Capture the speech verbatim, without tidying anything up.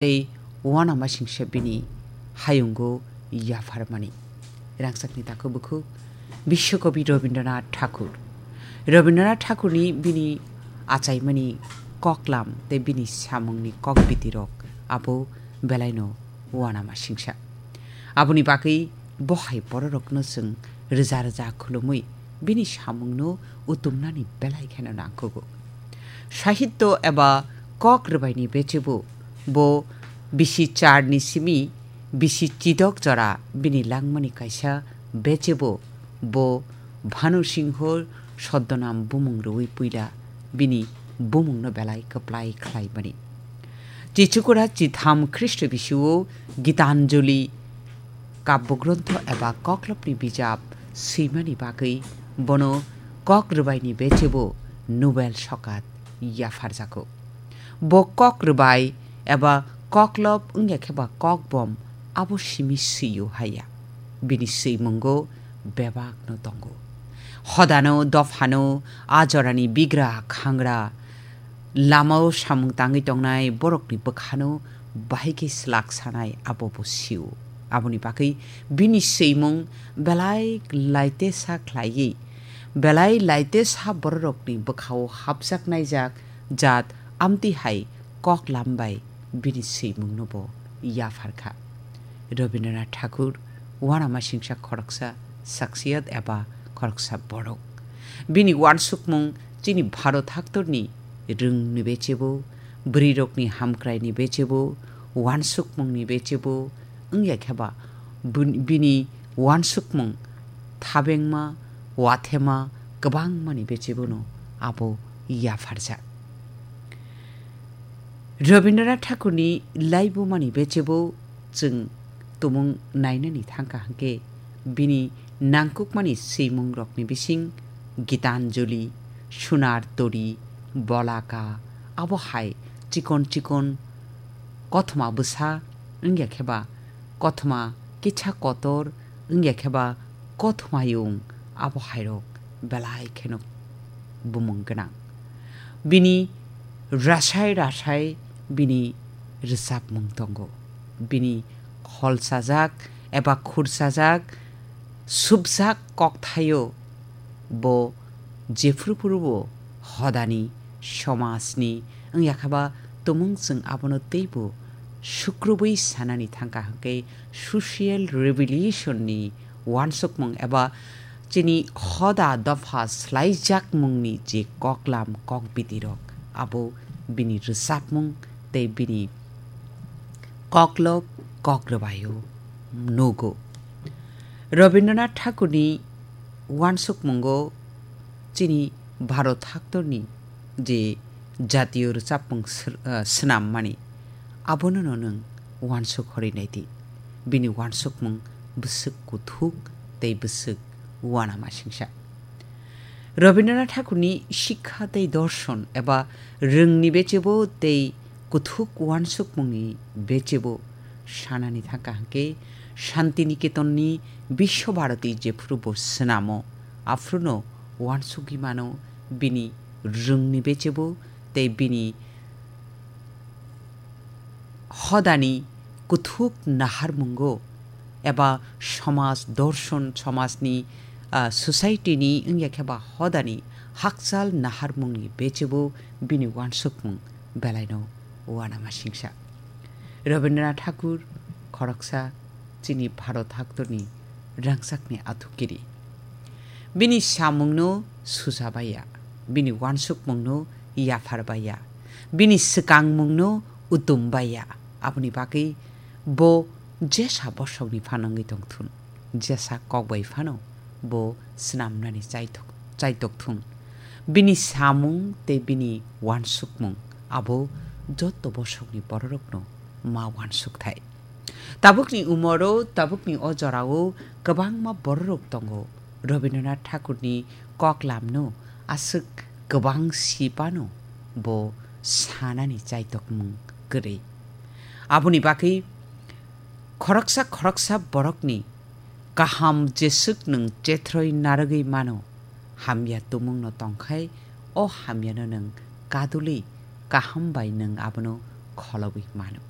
tei uanamasingsa bini hayungo yapharmani. Rangchakni takhuk bukhuk Biswakobi Rabindranath Thakur. Rabindranath Thakurni bini achaimani koklam tei bini samungni kokbitirok abo belaino uanamasingsa. Aboni bagwi bo hai bororokno chwng rwja rwja khulumwi bini samungno utumnani belai kheno nangkukgo. Sahityo eba kok rwbaini bechebo bo bisi charni simi bisi chidok jora bini langmani kaisa bechebo bo Bhanu Singho Sodonam bumung rwui puila bini bumungno belai kwplai khlaimani. Chichukura chitham Khristo bisio Gitanjali kabogronto eba koklopni bijap swimani bagwi bono kok rwbaini bechebo Nobel sokat yapharjago. Bo kok rwbai eba koklop wngya khe ba kokbom abo simi swio haya. Bini swimungo bebakno tongo. Hodano, dophano, a jorani bigra khangra, lamao samung tangwi tongnai borokni bwkhano bahai khe slak sanai abo bo sio. Aboni bagwi bini swimung belai laitesa khlaiwi, belai laitesa bororokni bwkhao hapjaknaijak jat amtwi hai koklam bai bini swimungno bo yapharkha. Rabindranath Thakur uanamasingsa khoroksa shakhsiyat eba khoroksa borok. Bini uansukmung chini Bharat haktorni rwngni bechebo, bwrwirokni hamkraini bechebo, uansukmungni bechebo, wngya khe ba bun-, bini uansukmung thabengma, wathema kwbangmani bechebono abo yapharjak. Rabindranath Thakurni laibumani bechebo chwng tumung nainani thangkha hwnkhe bini nangkukmani swimungrokni bising Gitanjali, Sunar Tori, Bolaka, abo hai chikon chikon kothoma bwsa wngya khe ba kothoma kicha kotor wngya khe ba kothoma yung abo hairok belai kheno bumung gwnang. Bini rasai rasai bini rwchapmung tongo. Bini kholsajak eba khursajak, subjak kokthaio bo jephru phuru bo hodani, somajni wngya khe ba tumung chwng abono teibo sukrubwi sanani thangkha hwnkhe social revolution ni uansukmung eba chini hoda dopha slaijakmungni je koklam kokbidirok abo bini rwchapmung tei bini koklop kokrwbaio nugo. Rabindranath Thakurni uansukmungo chini Bharat haktorni je jatiyo rwchapmung sr-, ah, swnammani, abonono nwng uansuk horwi naidi. Bini uansukmung bwswk kuthuk tei bwswk uanamasingsa. Rabindranath Thakurni sikha tei dorson eba rwngni bechebo tei kuthuk uansukmungni bechebo sanani thangkha hwnkhe Shantiniketonni Biswabharati jephuru bo swnamo, aphruno uansugwi mano bini rwngni bechebo tei bini hodani kuthuk naharmungo eba somaj dorson, somajni, ah, society ni wngya khe ba hodani hakchal naharmungni bechebo bini uansukmung belaino uanamasingsa. Rabindranath Thakur khoroksa chini Bharat haktorni rangchakni athukiri. Bini samungno susa baiya, bini uansukmungno yaphar baiya, bini swkangmungno utum baiya. Aboni bagwi bo jesa bosongni phanangwi tongthun, jesa kok bai phano bo swnamnani chaitok-, chaitokthun. Bini samung tei bini uansukmung abo jotto bosongni bororokno ma uansukthai. Tabukni umoro, tabukni o jorao kwbangma bororok tongo. Rabindranath Thakurni koklamno aswk kwbang sipano bo sanani chaitokmung kwrwi. Aboni bagwi khoroksa khoroksa borokni kaham jeswk nwng chethroi narwgwi mano, hamya tumungno tongkhai o hamyano nwng kadulwi kaham bai nwng abono kholobwi mano.